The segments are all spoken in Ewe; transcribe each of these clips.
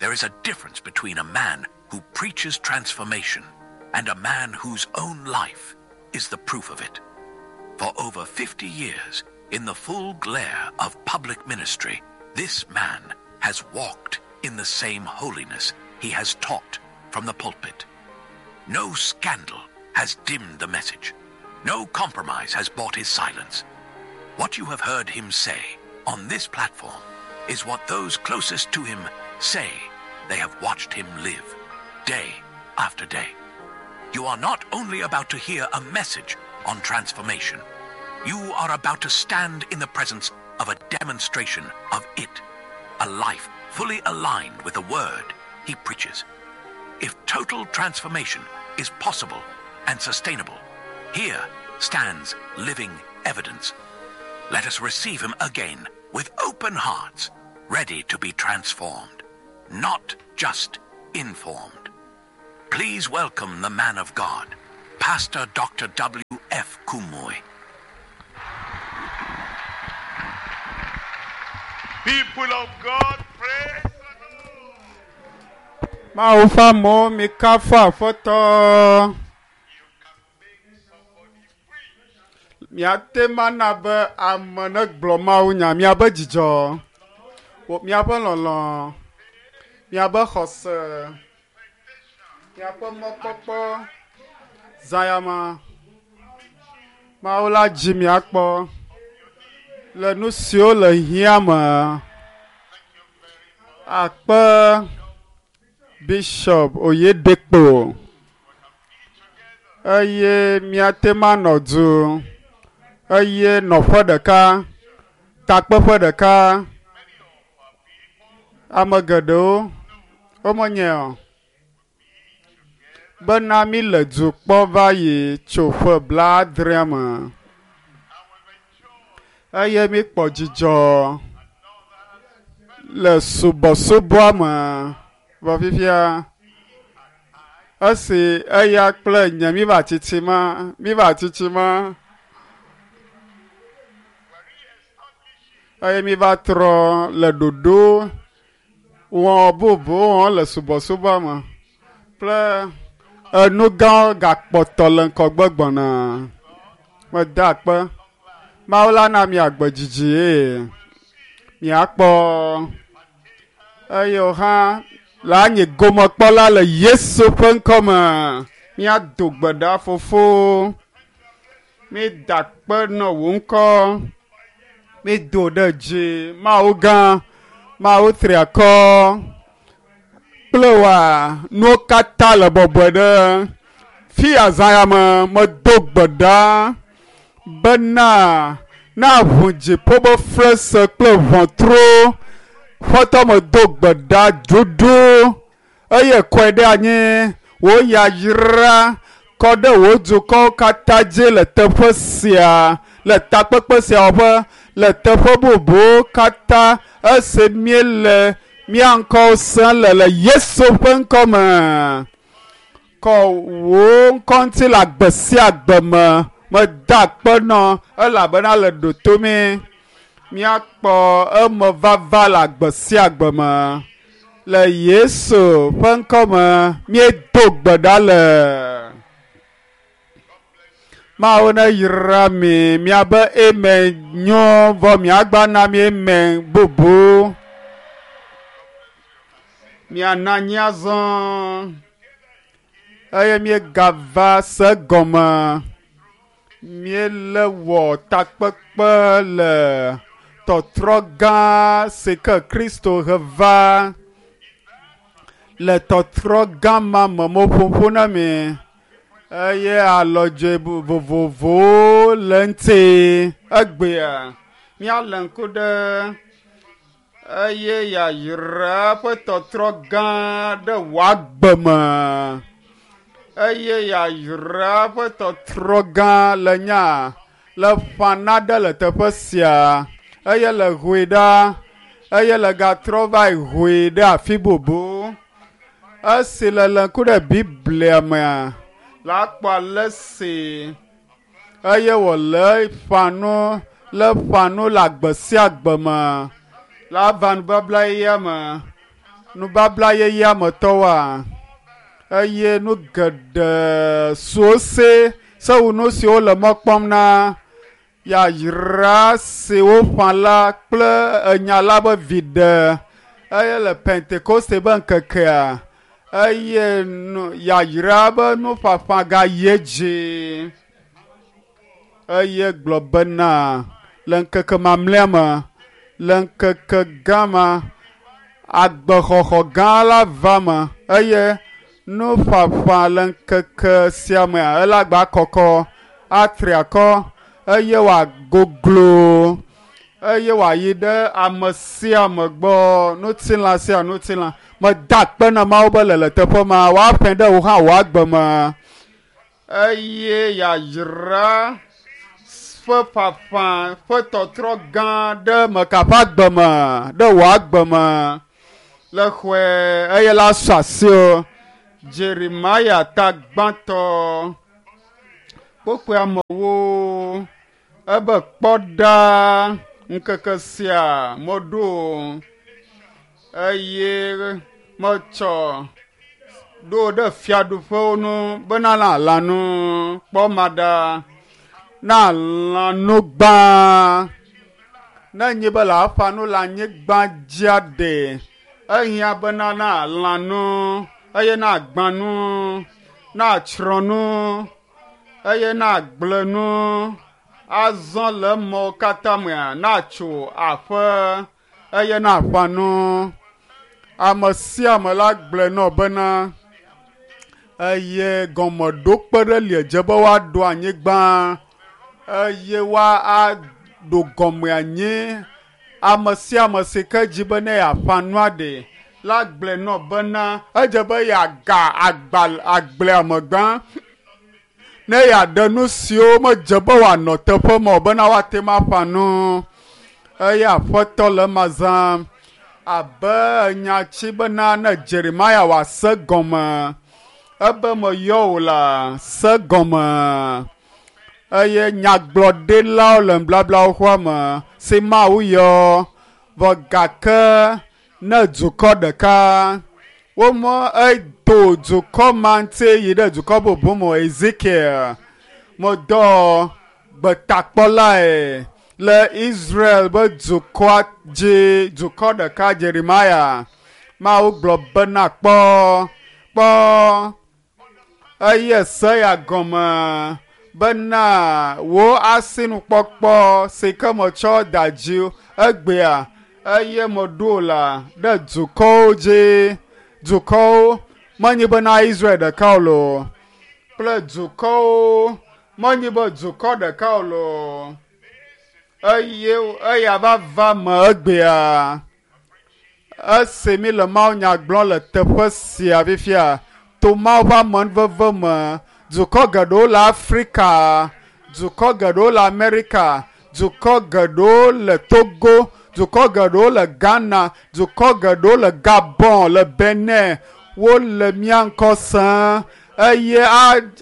There is a difference between a man who preaches transformation and a man whose own life is the proof of it. For over 50 years, in the full glare of public ministry, this man has walked in the same holiness he has taught from the pulpit. No scandal has dimmed the message. No compromise has bought his silence. What you have heard him say on this platform is what those closest to him say they have watched him live day after day. You are not only about to hear a message on transformation, you are about to stand in the presence of a demonstration of it, a life fully aligned with the word he preaches. If total transformation is possible and sustainable, here stands living evidence. Let us receive him again with open hearts, ready to be transformed, not just informed. Please welcome the man of God, Pastor Dr. W.F. Kumui. People of God, praise the Lord. Mawu ƒe amewo mikafu Aƒetɔ. You can make somebody preach. Miate ŋu ana be ame negblɔ Mawu nya, miabe dzidzɔ, wò- miaƒe lɔlɔ̃, miabe xɔse, miaƒe mɔkpɔkpɔ, zãyama. Mawu la dzi miakpɔ le nu siwo le hiã me. Akpe Bishop Oyedekpo eye miate ŋu anɔ du eye nɔƒe ɖeka, takpeƒe ɖeka. Ame geɖewo womenyae o bena mi le du kpɔ va yi tso ƒe blaadrea me eye mikpɔ dzidzɔ le subɔsubɔa me vɔ fifia esi eya kple nye míva tsitsima míva tsitsima eye míva trɔ le ɖoɖo wɔ bubu wɔm le subɔsubɔa me kple enu gãwo gakpɔtɔ le ŋgɔgbe gbɔna. Meda akpe. Mawu la na mi agbe dzidzi eye miakpɔ eye wò hã le anyi gomekpɔla le Yesu ƒe ŋkɔme. Míado gbe ɖa fofo. Mída akpe nɔ wò ŋkɔ. Mído ɖe dzi. Mawu gã, Mawu tri akɔ kple wòa nuwo katã le bɔbɔe ɖe. Fi azã ya me medo gbe ɖa bena na ʋu dziƒo be flese kple ʋɔtru. Ƒetɔ medo gbe ɖa dudu eye kɔe ɖe anyi. Wò yayra kɔ ɖe wò dukɔwo katã dzi le teƒe sia, le takpekpe sia wɔƒe, le teƒe bubuwo katã esi míele mía ŋkɔwo sem le le Yesu ƒe ŋkɔme. Kɔ wò ŋkɔ ŋuti le agbe sia agbe me. Meda akpe nɔ elabena le ɖoto mí. Míakpɔ emevava le agbe sia agbe me. Le Yesu ƒe ŋkɔme míedo gbe ɖa le. Mawu neyra mi miabe amen nyo vɔ miagba na mi amen bubu. Miana anyi azɔ eye míegava se gɔme. Míele wɔ takpekpe le tɔtrɔ gã si ke Kristo he va le tɔtrɔ gã ma me meƒoƒo na mi eye alɔdze vovovowo le ŋuti egbea. Míalé ŋku ɖe eye yayra ƒe tɔtrɔ gã ɖe wò agbe me eye yayra ƒe tɔtrɔ gã le nya le ƒã naɖe le teƒe sia eye le hoe ɖa eye le gatrɔ va yi hoe ɖe afi bubu. Esi le lé ŋku ɖe Biblia mea, la kpɔ ale si eye wòle ƒã nu le ƒã nu le agbe sia agbe me la va nubabla yeyea me. Nubabla yeyea me tɔwoa, eye nu geɖe siwo se sewu nu siwo le mɔ kpɔm na yayra si woƒã la kple enya la be viɖe eye le Pentekoste be ŋkekea eye nu yayra be nuƒaƒã gayi edzi eye gblɔ bena le ŋkeke mamlɛa me le ŋkeke gã ma agbexɔxɔ gã la va me eye nuƒaƒã le ŋkeke sia mea ele agba kɔkɔ atri akɔ eye wòagoglo eye wòayi ɖe ame sia ame gbɔ ŋutilã sia ŋutilã meda akpe na Mawu be le le teƒe ma woaƒã ɖe wò hã wò agbe me eye yayra ƒe ƒaƒã ƒe tɔtrɔ gã ɖe meka ƒe agbe me ɖe wò agbe me le xɔe eye la sɔ asi o Jeremia ta gbãtɔ kpokpoe amewo ebe kpɔ ɖa ŋkeke sia meɖo eye metsɔ ɖo ɖe fiaɖuƒewo nu bena na lãnu kpɔ ma ɖa na lãnu gbã ne nyi be le aƒa nu le anyigba dzia ɖe ehiã bena na lãnu eye na gbã nu na tsrɔ̃ nu eye na gblẽ nu azɔ le mɔwo katã mea natso aƒe eye na ƒã nu ame sia ame la gblɔe nɔ bena eye gɔmeɖokpe ɖe li edze be woaɖo anyigba eye woaɖo gɔme anyi ame sia ame si ke dzi be ne yeaƒã nua ɖe la gblɔe nɔ bena edze be yeaga agba agblea me gbã ne yeaɖe nu siwo medze be wòanɔ teƒe ma o bena woate ŋu aƒã nu eye aƒetɔ le ema zãm abe nyatsi bena ne Jeremia wòase gɔme ebe meyɔ wò la se gɔme eye nyagblɔɖilawo le nubablawo xɔa me si Mawu yɔ vɔ gake ne dukɔ ɖeka womɔ edo dukɔ ma ŋuti yi ɖe dukɔ bubu me Ezekiel medɔ gbetakpɔlae le Israel be dukɔa dzi dukɔ ɖeka Jeremia Mawu gblɔ bena kpɔ kpɔ eye se ya gɔme bena wò asinukpɔkpɔ si ke metsɔ da dzi egbea eye meɖo la ɖe dukɔwo dzi dukɔwo menye bena Israel ɖeka o loo kple dukɔwo menye be dukɔ ɖeka o loo eye eya va va me egbea esi mi le mawunya gblɔm le teƒe sia fifia to Mawu ƒe amenuveve me dukɔ geɖewo le Afrika dukɔ geɖewo le Amerika dukɔ geɖewo le Togo dukɔ geɖewo le Ghana dukɔ geɖewo le Gabon le Benin wole mía ŋkɔ sẽe eye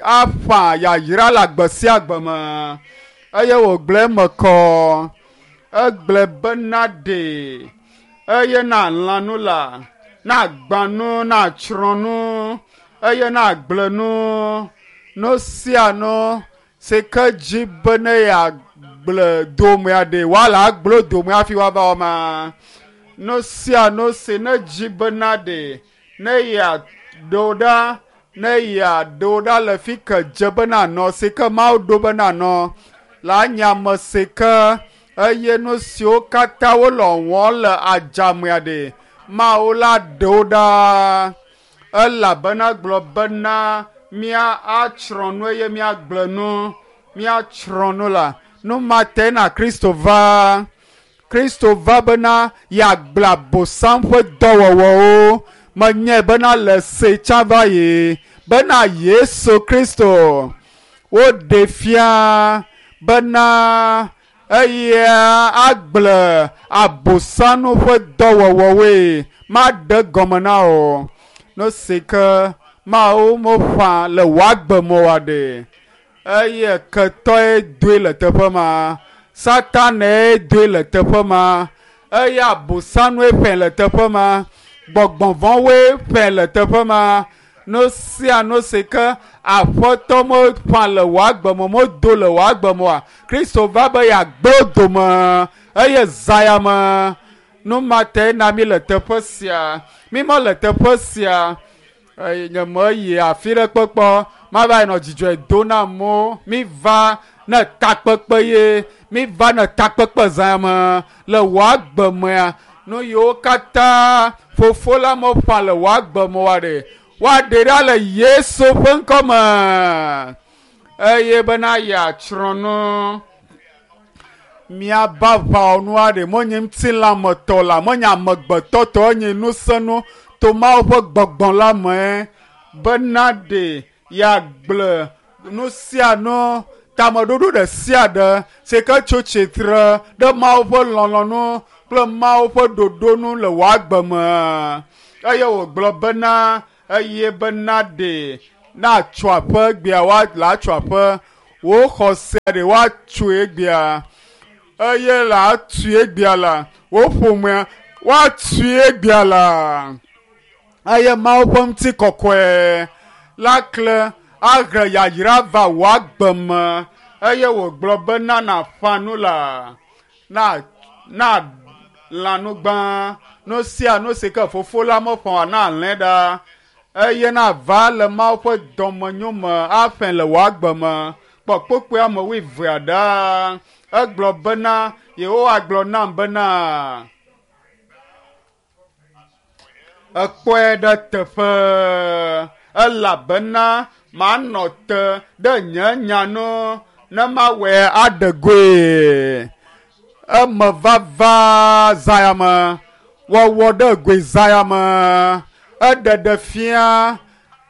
aƒã yayra le agbe sia agbe me eye wògblɔ eme kɔ egblɔe bena ɖe eye na lã nu la na gbã nu na tsrɔ̃ nu eye na gblẽ nu nu sia nu si ke dzi be ne yeagblẽ domea ɖe woala agblẽ dome hafi woava wɔ ma nu sia nu si ne dzi bena ɖe ne yeaɖo ɖa ne yeaɖo ɖa le fi ke dze be nanɔ si ke Mawu ɖo be nanɔ la nye ame si ke eye nu siwo katã wole wɔm le adzamea ɖe Mawu la ɖe wo ɖa elabena gblɔ bena mía atsrɔ̃ nu eye míagblẽ nu míatsrɔ̃ nu la nu ma te na Kristo va Kristo va bena yeagblẽ Abosam ƒe dɔwɔwɔwo menyae bena le se tsã va yi bena Yesu Kristo woɖe fia bena eya agblẽ Abosam ƒe dɔwɔwɔwoe maɖe gɔme na o nu si ke Mawu meƒã le wò agbe me oa ɖe eye ketɔe doe le teƒe ma Satanae doe le teƒe ma eye Abosanue ƒãe le teƒe ma. Gbɔgbɔvɔ̃woe ƒe le teƒe ma. Nu sia nu si ke aƒetɔ meƒã le wò agbe me, medo le wò agbe me oa, Kristo va be yeagblẽ dome eye zã ya me. Nu ma tae na mi le teƒe sia. Mi mele teƒe sia. Eye nye meyi afi ɖe kpekpe mava yi nɔ dzidzɔe do na amewo. Mi va ne takpekpe ye. Mi va ne takpekpe zã me le wò agbe mea. Nu yiwo katã fofo la meƒã le wò agbe me oa ɖe, woaɖe ɖa le Yesu ƒe ŋkɔ me. Eye bena yeatsrɔ̃ nu. Miaba aʋawɔnu aɖe menye ŋutilãmetɔ la, menye amegbetɔ tɔ, enye ŋusẽnu to Mawu ƒe gbɔgbɔ la me bena ɖe yeagblẽ nu sia nu, tameɖoɖo ɖe sia ɖe si ke tso tsitre ɖe Mawu ƒe lɔlɔ̃nu kple Mawu ƒe ɖoɖo nu le wò agbe me. Eye wògblɔ bena eye bena ɖe natso aƒe egbea woatso aƒe wò xɔse ɖe woatsoe egbea eye le atui egbea la wò ƒomea woatui egbea la eye Mawu ƒe ŋutikɔkɔe la kle ahe yayra va wò agbe me eye wògblɔ bena nàƒã nu la na na lã nu gbã nu sia nu si ke fofo la meƒã oa na lẽ ɖa eye nava le Mawu ƒe dɔmenyo me aƒẽ le wò agbe me. Kpɔ kpukpui ame wuievea ɖa. Egblɔ bena Yehowa gblɔ nam bena ekpɔe ɖe teƒe elabena manɔ te ɖe nye nya nu ne mawɔe aɖe goe. Eme vava zã ya me, wɔwɔ ɖe goe zã ya me, eɖeɖe fia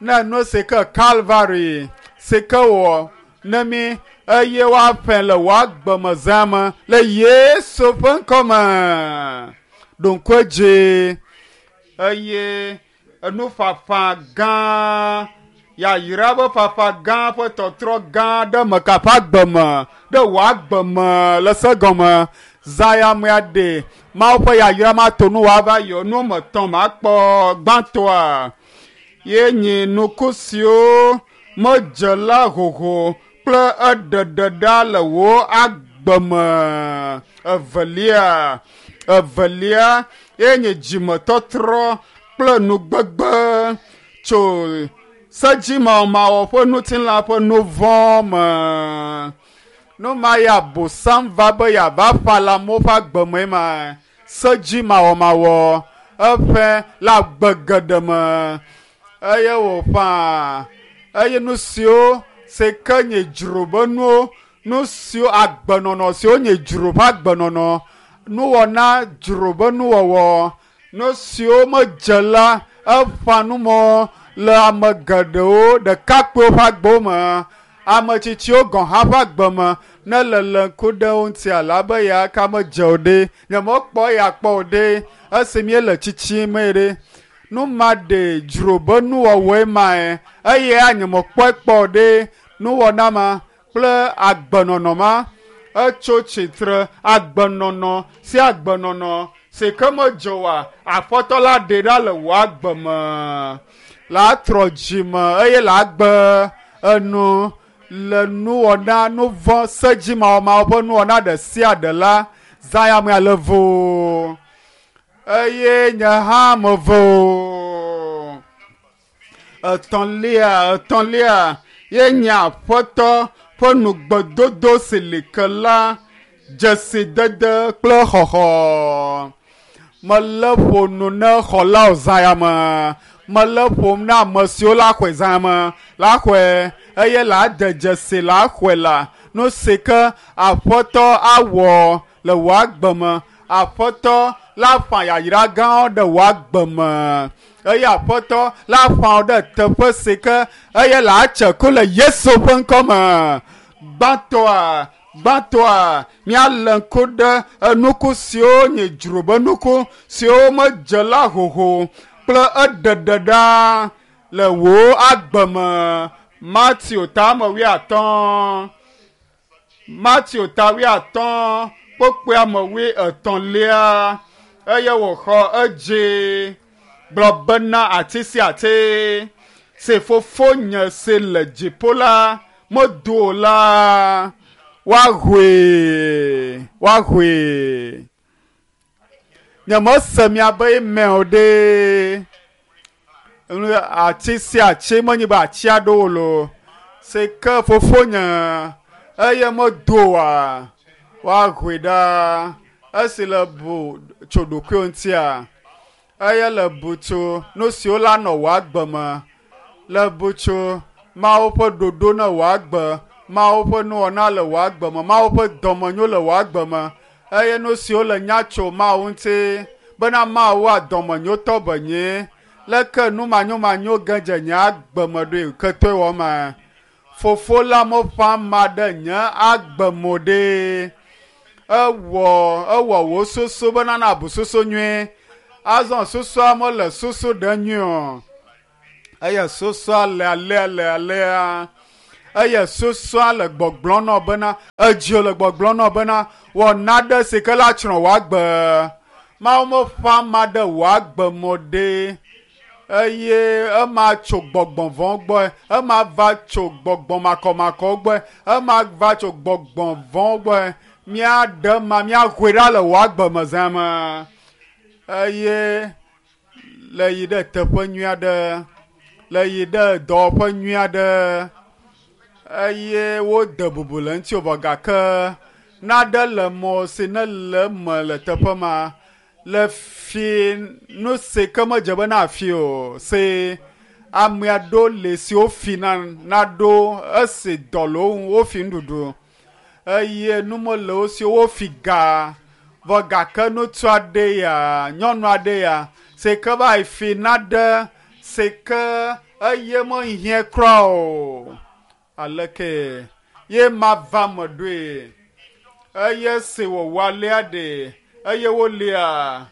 ne nu si ke Kalvari si ke wɔ ne mi eye woaƒẽ le wò agbe me zã me le Yesu ƒe ŋkɔ me. Ɖo ŋku edzi eye enuƒaƒã gã, yayra ƒe ƒaƒã gã ƒe tɔtrɔ gã ɖe meka ƒe agbe me, ɖe wò agbe me le se gɔme. Zã ya mea ɖe Mawu ƒe yayra mato nu wòava yɔ nu me tɔ̃ makpɔ gbãtɔa. Ye nyi nuku siwo medze la hoho kple eɖeɖe ɖa le wò agbe me. Evelia, evelia ye nye dzimetɔtrɔ kple nugbegbe tso sedzimawɔmawɔ ƒe ŋutilã ƒe nu vɔ̃ me. Nu ma ya Abosam va be yeava ƒã le amewo ƒe agbe me ma. Sedzimawɔmawɔ eƒe le agbe geɖe me eye wòƒã eye nu siwo si ke nye dzro be nuwo, nu siwo agbenɔnɔ siwo nye dzro ƒe agbenɔnɔ, nuwɔna dzro be nuwɔwɔ, nu siwo medze la eƒã nu mɔ le ame geɖewo ɖekakpuiwo ƒe agbewo me, ame tsitsiwo gɔ̃ hã ƒe agbe me ne le le ŋku ɖe wo ŋuti alabe ya ka medze o ɖe, nyemekpɔ ya kpɔ o ɖe esi míele tsitsim ɖe. Nu ma ɖe dzro be nuwɔwɔe mae eye nyemekpɔe kpɔ o ɖe nuwɔna ma kple agbenɔnɔ ma etso tsitre agbenɔnɔ sia agbenɔnɔ si ke medze oa aƒetɔ la ɖe ɖa le wò agbe me la trɔ dzi me eye la gbe enu le nuwɔna nu vɔ̃ sedzimawɔmawɔ ƒe nuwɔna ɖe sia ɖe la zã ya mea le vo eye nye hã mevo. Etɔ̃lia, etɔ̃lia ye nye aƒetɔ ƒe nugbedodo si li ke la dzesidede kple xɔxɔ. Mele ƒo nu ne xɔlawo zã ya me. Mele ƒom na ame siwo la xɔe zã ya me la xɔe eye la de dzesi la xɔe la nu si ke aƒetɔ awɔ le wò agbe me. Aƒetɔ la ƒã yayra gãwo ɖe wò agbe me eye aƒetɔ la ƒã wò ɖe teƒe si ke eye la tse ku le Yesu ƒe ŋkɔ me. Gbãtɔa, gbãtɔa, míalé ŋku ɖe enuku siwo nye dzro be nuku siwo medze la hoho kple eɖeɖe ɖa le wò agbe me. Mateo ta ame wuiatɔ̃. Mateo ta wuiatɔ̃ kpukpui ame wuietɔ̃lia eye wòxɔ edzi. Gblɔ bena ati sia ati si fofonye si le dziƒo la medo o la, woahoe, woahoe. Nyemese miabe email o ɖe. Nu ati sia ati menye be ati aɖewo loo si ke fofonye eye medo oa, woahoe ɖa. Esi le bu tso ɖokuiwò ŋutia, eye le bu tso nu siwo la nɔ wò agbe me, le bu tso Mawu ƒe ɖoɖo ne wò agbe, Mawu ƒe nuwɔna le wò agbe me, Mawu ƒe dɔmenyo le wò agbe me, eye nu siwo le nya tso Mawu ŋuti bena Mawua dɔmenyotɔ be nye. Leke nu manyomanyo ge dze nye agbe me ɖoe ketɔe wɔ ma? Fofo la meƒã ama ɖe nye agbe me o ɖe. Ewɔ ewɔ wò susu bena nàbu susu nyui. Azɔ susua mele susu ɖem nyuie o. Eye susua le alea le alea. Eye susua le gbɔgblɔm nɔ bena edziwò le gbɔgblɔm nɔ bena wɔ naɖe si ke la tsrɔ̃ wò agbe. Mawu meƒã ama ɖe wò agbe me o ɖe. Eye ema tso gbɔgbɔ vɔ̃ gbɔe, ema va tso gbɔgbɔ makɔmakɔ gbɔe, ema va tso gbɔgbɔ vɔ̃ gbɔe. Míaɖe ema, míahoe ɖa le wò agbe me zã me. Eye le yi ɖe teƒe nyui aɖe, le yi ɖe dɔwɔƒe nyui aɖe eye wode bubu le ŋutiwò vɔ gake naɖe le mɔ si nele eme le teƒe ma le fi nu si ke medze be nafi o si ame aɖewo li si wofi na naɖo esi dɔ le wo ŋu wofi nuɖuɖu eye nu mele wo si o wofi ga vɔ gake ŋutsu aɖe ya nyɔnu aɖe ya si ke va yi fi naɖe si ke eye mehiã kura o. Aleke ye mava me ɖoe? Eye si wòwɔ alea ɖe eye wolia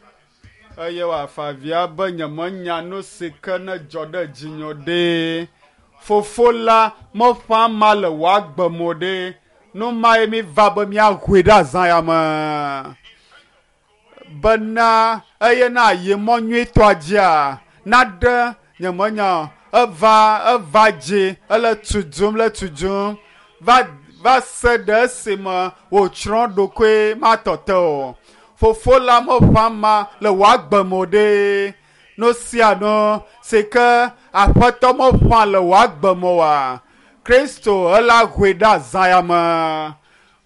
eye wòafa avia be nyemenya nu si ke ne dzɔ ɖe dzinye o ɖe. Fofo la meƒã ama le wò agbe me o ɖe. Nu mae mi va be míahoe ɖe azã ya me bena eye na yi mɔ nyuitɔa dzia naɖe nyemenya o. Eva eva dzi ele tu dum le tu dum va va se ɖe esime wòtsrɔ̃ ɖokoe matɔ te o. Fofo la meƒã ama le wò agbe me o ɖe. Nu sia nu si ke Aƒetɔ meƒã le wò agbe me oa, Kristo ela hoe ɖe azã ya me.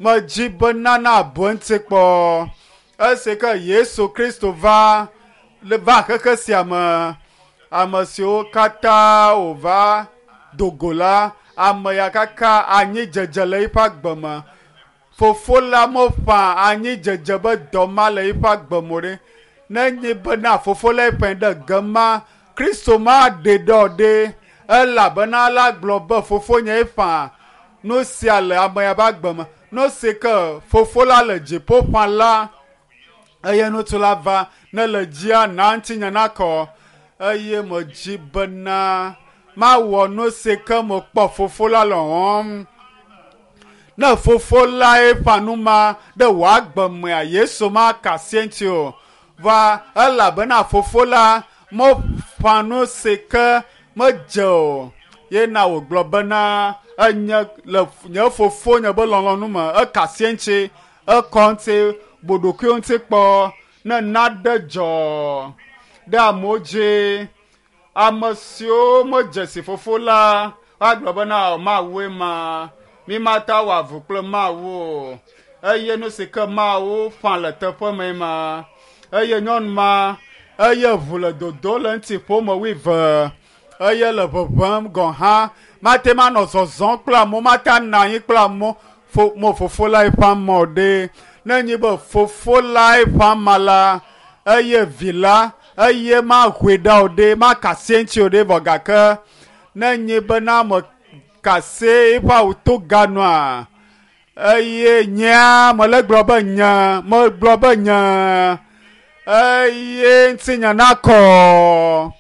Medzi bena nàbu eŋuti kpɔ. Esi ke Yesu Kristo va va xexe sia me, ame siwo katã wòva do go la, ame ya kaka anyidzedze le eƒe agbe me. Fofo la meƒã anyidzedze be dɔ ma le eƒe agbe me o ɖe. Nenye bena fofo lae ƒãe ɖe ge ma, Kristo maɖee ɖe o ɖe, elabena la gblɔ be fofonye ƒã nu sia le ame ya ƒe agbe me. Nu si ke fofo la le dziƒo ƒã la, eye ŋutsu la va ne le dzia na ŋutinye nakɔ eye medzi bena mawɔ nu si ke mekpɔ fofo la le wɔm. Ne fofo lae ƒã nu ma ɖe wò agbe mea, Yesu maka asi eŋuti o. Va elabena fofo la meƒã nu si ke medze o. Ye na wògblɔ bena enye le nye fofonye be lɔlɔ̃nu me eka asi eŋuti, ekɔ eŋuti, bu ɖokuiwò ŋuti kpɔ ne naɖe dzɔ ɖe amewo dzi. Ame siwo medze si fofo la woagblɔ bena Mawue ma, mi mate awɔ avu kple Mawu o. Eye nu si ke Mawu ƒã le teƒe mee ma. Eye nyɔnu ma, eye ʋu le dodo le eŋuti ƒome wuieve eye le ʋeʋẽm gɔ̃ hã. Mate ŋu anɔ zɔzɔm kple amewo, mate anɔ anyi kple amewo. Fo, mo fofo lae ƒã ama o ɖe. Ne enye be fofo lae ƒã ama la, eye vi la, eye mahoe ɖa o ɖe, maka asi eŋuti o ɖe vɔ gake ne enye bena meka asi eƒe awu toga nua, eye nyea mele gblɔ be nye, megblɔ be nye, eye ŋutinye nakɔ.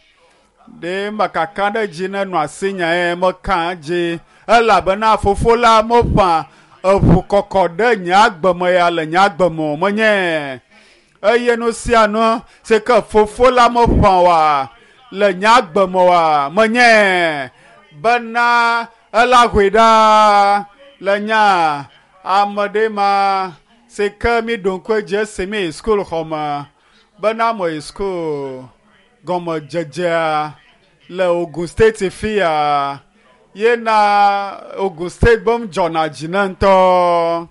Ɖe mekaka ɖe edzi ne nɔ asinye eye meka edzi elabena fofo la meƒã eʋu kɔkɔ ɖe nye agbe me ya le nye agbe me o menye. Eye nu sia nu si ke fofo la meƒã oa, le nye agbe me oa menye bena ela hoe ɖa le nya ame ɖe ma si ke mi ɖo ŋku edzi esi mi yi skul xɔme bena me yi skul gɔmedzedzea le Ogun State fia yena Ogun State be dzɔna dzi ne ŋutɔ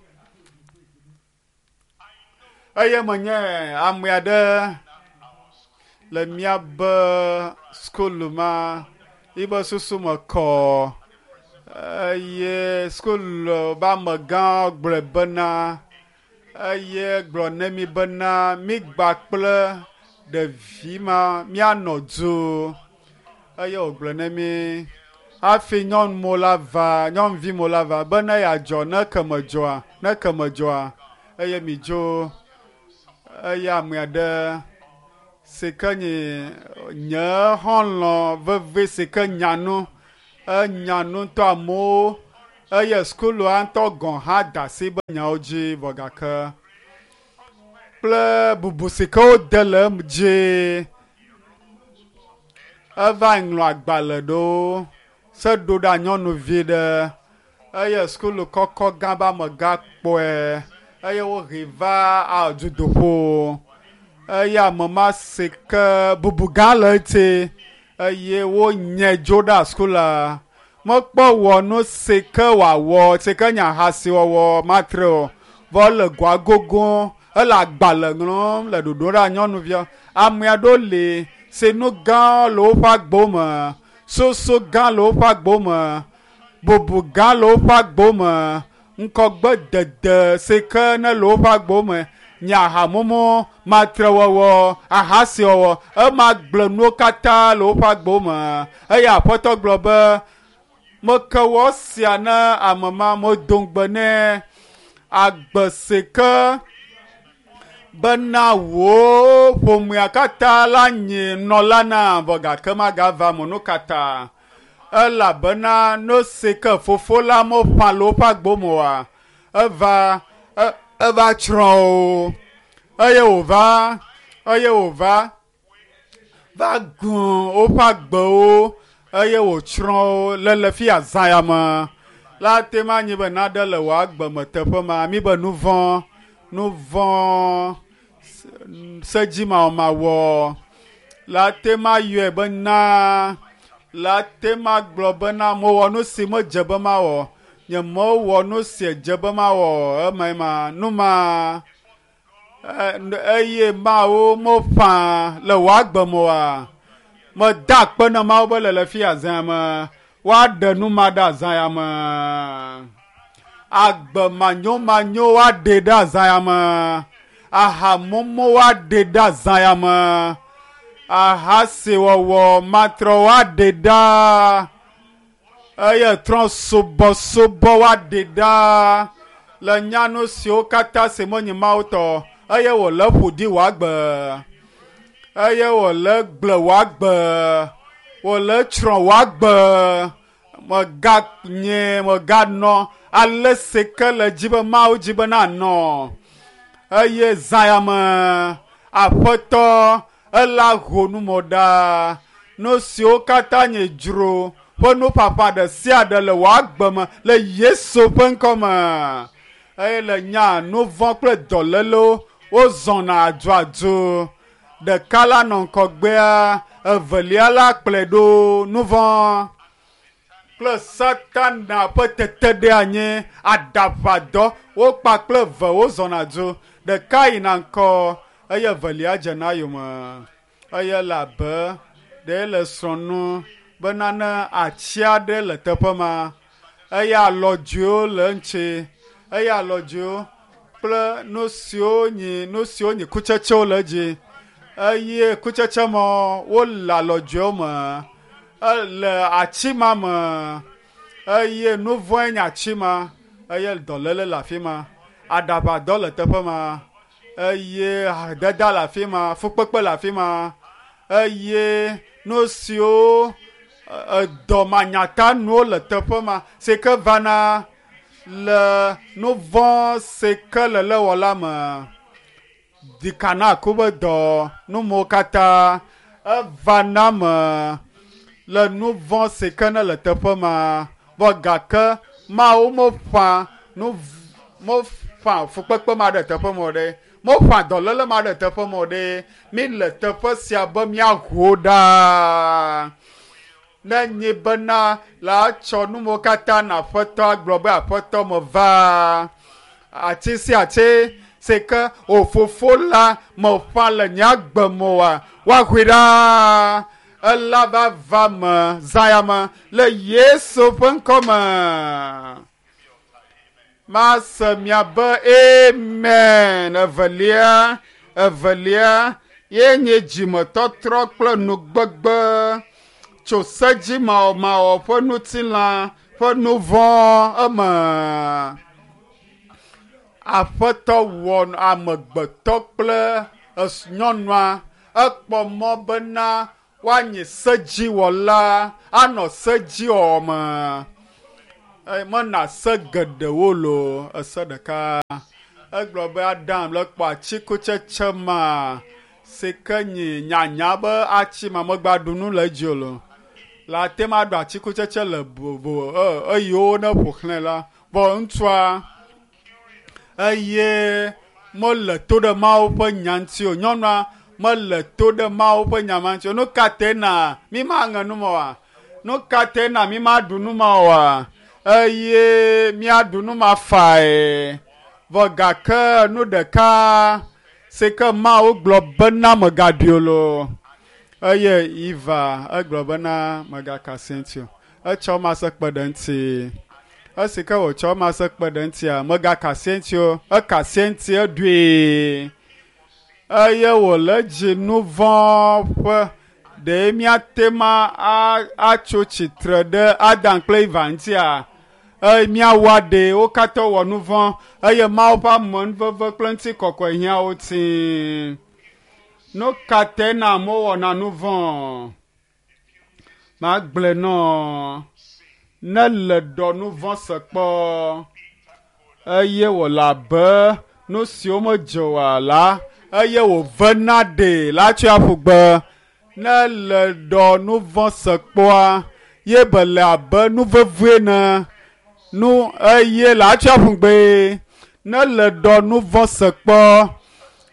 eye menye ame aɖe le míabe skulu ma yibe susu me kɔ eye skulu be amegã gblɔe bena eye gblɔ ne mi bena migba kple ɖevi ma míanɔ du eye wògblɔ ne mi hafi nyɔnu mo la va nyɔnuvi mo la va be ne yeadzɔ ne keme dzɔa ne keme dzɔa eye mi dzo eye ame aɖe si ke nye nye xɔlɔ̃ veve si ke nya nu enya nu ŋutɔ amewo eye sukulua ŋutɔ gɔ̃ hã da asi be nyawo dzi vɔ gake kple bubu si ke wode le em dzi eva ŋlɔ agbalẽ ɖewo se ɖo ɖa nyɔnuvi ɖe eye sukulu kɔkɔ gã be amegã kpɔe eye wohee va dutoƒo eye ame ma si ke bubu gã le eti eye wonyae dzo ɖa sukula mekpɔ wɔ nu si ke wòawɔ si ke nye ahasiwɔwɔ matre o vɔ ele goa gogo ele agbalẽ ŋlɔm le ɖoɖo ɖa nyɔnuvia ame aɖewo li si nu gã le woƒe agbo me soso gã le woƒe agbo me bubu gã le woƒe agbo me ŋkɔgbe dede si ke ne le woƒe agbo me nye ahamumu matrewɔwɔ ahasiwɔwɔ ema gblẽ nuwo katã le woƒe agbo me eye aƒetɔ gblɔ be meke wɔ sia ne ame ma medo ŋugbe nɛ agbe si ke bena wò ƒomea katã la nyi nɔla na vɔ gake magava me nu katã elabena nu si ke fofo la meƒã le woƒe agbo me oa eva eva tsrɔ̃ wo eye wòva eye wòva va gũ woƒe agbewo eye wòtsrɔ̃ wo le le fi azã ya me la te ma anyi be naɖe le wò agbe me teƒe ma mi be nu vɔ̃ nu vɔ̃ sedzimawɔmawɔ la te ma yɔe be na la te ma gblɔ bena mewɔ nu si medze be mawɔ nye mewɔ nu si dze be mawɔ ema ma nu ma eye mawo meƒã le wò agbe me oa meda akpe na mawo be le le fi azã me woaɖe nu ma ɖe azã ya me agbe manyomanyo woaɖe ɖe azã ya me ahamumu woaɖe ɖe azã ya me ahasiwɔwɔ matrɔ woaɖe ɖa eye trɔ subɔsubɔ woaɖe ɖa le nyanu siwo katã si menye Mawu tɔ eye wòle ƒo ɖi wò agbe eye wòle gblẽ wò agbe wòle tsrɔ̃ wò agbe mèganye mèganɔ ale si ke le dzi be Mawu dzi be nanɔ eye zã ya me aƒetɔ ela ho nu mo ɖa nu siwo katã nye dzro ƒe nuƒaƒã ɖe sia ɖe le wò agbe me le Yesu ƒe ŋkɔ me eye le nya nu vɔ̃ kple dɔlélewo wozɔna aduadu ɖeka la nɔ ŋgɔgbea evelia la kplɔe ɖo nu vɔ̃ kple satana ƒe teteɖeanyi aɖaʋadɔ wokpa kple eve wozɔna du ɖeka yina ŋkɔ eye evelia dzena yome eye le abe ɖe le srɔ̃ nu be nane atsi aɖe le teƒe ma eye alɔdzoewo le eŋuti eye alɔdzoewo kple nu siwo nyi nu siwo nyi kutsetsewo le edzi eye kutsetse ma wole alɔdzoewo me ele ati ma me eye nu vɔ̃e nye ati ma eye dɔléle le afi ma aɖaʋadɔ le teƒe ma eye hadede le afi ma fukpekpe le afi ma eye nu siwo edɔ manyatanuwo le teƒe ma si ke vana le nu vɔ̃ si ke le lewɔla me dikana ku be dɔ nu mawo katã Eva na me le nu vɔ̃ si ke ne le teƒe ma vɔ gake Mawu meƒã nu meƒã fukpekpe ma ɖe teƒe ma o ɖe. Meƒã dɔléle ma ɖe teƒe ma o ɖe. Mi le teƒe sia be míaho ɖaa. Ne nyi bena la tsɔ nuwo katã na aƒetɔ agblɔ be aƒetɔ meva ati sia ati si ke wò fofo la meƒã le nye agbe me oa, woahoe ɖaa. Ela va va me zã ya me le Yesu ƒe ŋkɔ me. Mase miabe amen. Evelia, evelia ye nye dzimetɔtrɔ kple nugbegbe tso sedzimawɔmawɔ ƒe ŋutilã ƒe nu vɔ̃ eme. Aƒetɔ wɔ amegbetɔ kple nyɔnua ekpɔ mɔ bena woanye sedziwɔla anɔ sedziwɔwɔ me. Mena se geɖewo loo ese ɖeka. Egblɔ be Adam le kpɔ atikutsetse ma si ke nyi nyanya be atsi ma megba ɖu nu le edzi o loo. Le ate ma ɖu atikutsetse le vovo eyiwo ne ƒo xlãe la. Vɔ ŋutsua eye mele to ɖe Mawu ƒe nya ŋuti o. Nyɔnua mele to ɖe Mawu ƒe nya ma ŋuti o. Nu ka tae na mi maŋe nu ma oa? Nu ka tae na mi maɖu nu ma oa? Eye míaɖu nu ma fae. Vɔ gake nu ɖeka si ke Mawu gblɔ bena megaɖui o loo. Eye Eva egblɔ bena megaka asi eŋuti o. Etsɔ ma se kpe ɖe eŋuti. Esi ke wòtsɔ ma se kpe ɖe eŋutia, megaka asi eŋuti o. Eka asi eŋuti eɖui. Eye wòle dzi nu vɔ̃ ƒe ɖe míate ma atso tsitre ɖe Adam kple Eva ŋutia? Eye míawɔ aɖe wo katã wɔ nu vɔ̃ eye Mawu ƒe amenuveve kple ŋutikɔkɔe hiã wo tĩ. Nu ka tae na amewo wɔna nu vɔ̃? Magblɔe nɔ ne le ɖɔ nu vɔ̃ se kpɔ eye wòle abe nu siwo medze oa la eye wòvena ɖee la tsɔe aƒu gbe. Ne le ɖɔ nu vɔ̃ se kpɔa ye be le abe nu vevie ne nu eye la tsɔe aƒu gbe. Ne le ɖɔ nu vɔ̃ se kpɔ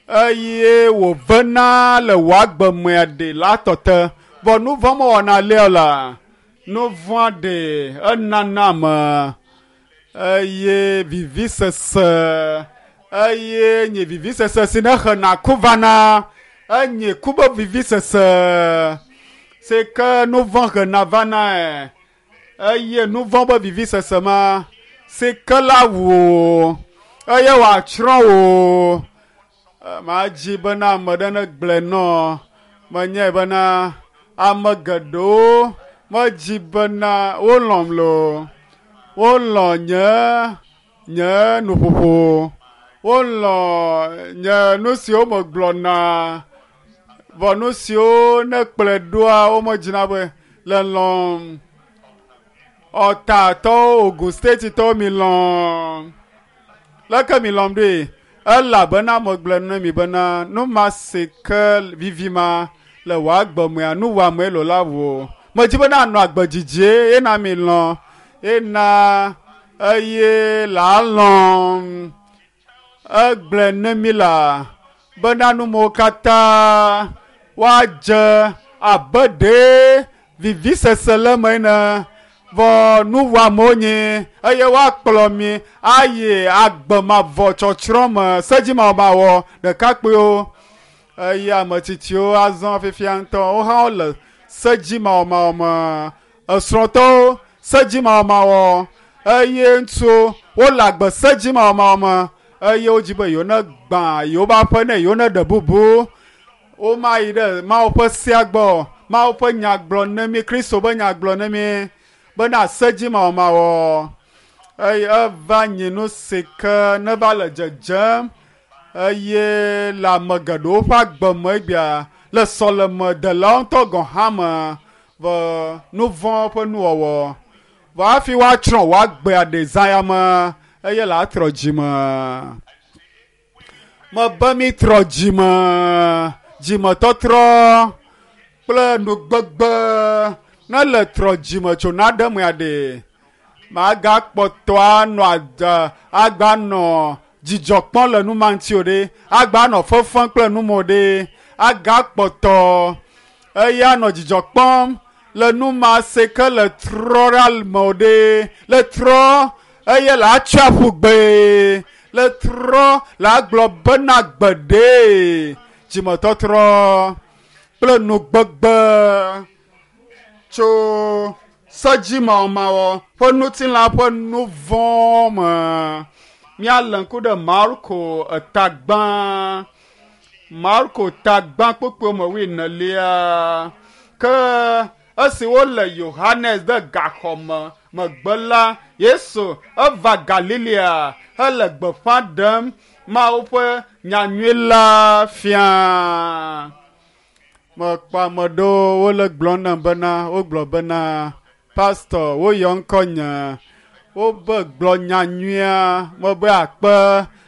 eye wòvena le wò agbe mea ɖe la tɔ te. Vɔ nu vɔ̃ mewɔna alea o la, nu vɔ̃a ɖe enana ame eye vivisese eye nye vivisese si ne hena ku vana enye ku be vivisese si ke nu vɔ̃ hena vanae eye nu vɔ̃ be vivisese ma si ke la wu wò eye wòatsrɔ̃ wò. Madzi bena ame ɖe negblɔe nɔ menyae bena ame geɖewo medzi bena wolɔ̃m loo wolɔ̃ nye nye nuƒoƒo wolɔ̃ nye nu siwo megblɔna vɔ nu siwo ne kplɔe ɖoa womedzina be le lɔ̃m. Ɔtatɔwo Ogun State tɔwo mi lɔ̃m. Leke mi lɔ̃m ɖoe? Elabena megblɔ na mi bena nu ma si ke vivi ma le wò agbe mea nu wɔamee lo la wò. Medzi bena anɔ agbe dzidzie ye na mi lɔ̃ ye na eye la lɔ̃m. Egblɔe ne mi la bena nu mawo katã woadze abe ɖe vivisese le eme ene vɔ nu wɔamewo nyi eye woakplɔ mi ayi agbe mavɔ tsɔtsrɔ̃ me sedzimawɔmawɔ ɖekakpuiwo eye ame tsitsiwo azɔ fifia ŋutɔ wo hã wole sedzimawɔmawɔ me esrɔ̃tɔwo sedzimawɔmawɔ eye ŋutsuwo wole agbe sedzimawɔmawɔ me eye wodzi be yewo ne gbã yewo ƒe aƒe ne yewo ne ɖe bubu womayi ɖe Mawu ƒe sea gbɔ Mawu ƒe nya gblɔ ne mi Kristo ƒe nya gblɔ ne mi bena sedzimawɔmawɔ eye eva nyi nu si ke ne va le dzedzem eye le ame geɖewo ƒe agbe me egbea le sɔlemedelawo ŋutɔ gɔ̃ hã me vɔ nu vɔ̃ ƒe nuwɔwɔ vɔ hafi woatsrɔ̃ wò agbea ɖe zã ya me eye le atrɔ dzime. Mebe mi trɔ dzime, dzimetɔtrɔ. kple nugbegbe ne le trɔ dzime tso naɖe mea ɖe magakpɔtɔ anɔ adza agba nɔ dzidzɔ kpɔm le nu ma ŋuti o ɖe agba nɔ fefem kple nu ma o ɖe agakpɔtɔ eya nɔ dzidzɔ kpɔm le nu ma se ke le trɔ ɖa me o ɖe le trɔ eye le atsiaƒu gbe le trɔ le agblɔ bena gbeɖe dzimetɔtrɔ kple nugbegbe tso sedzimawɔmawɔ ƒe ŋutilã ƒe nu vɔ̃ me. Míalé ŋku ɖe Marko etagbã, Marko tagbã kpukpui me wuienelia. Ke esi wole Yohanes de gaxɔ me megbe la, Yesu eva Galilea hele gbeƒã ɖem Mawu ƒe nyanyui la fia. Mekpɔ ame ɖewo wole gblɔm nam bena wogblɔ bena pastɔ woyɔ ŋkɔnye wobe gblɔ nyanyuia mebe akpe.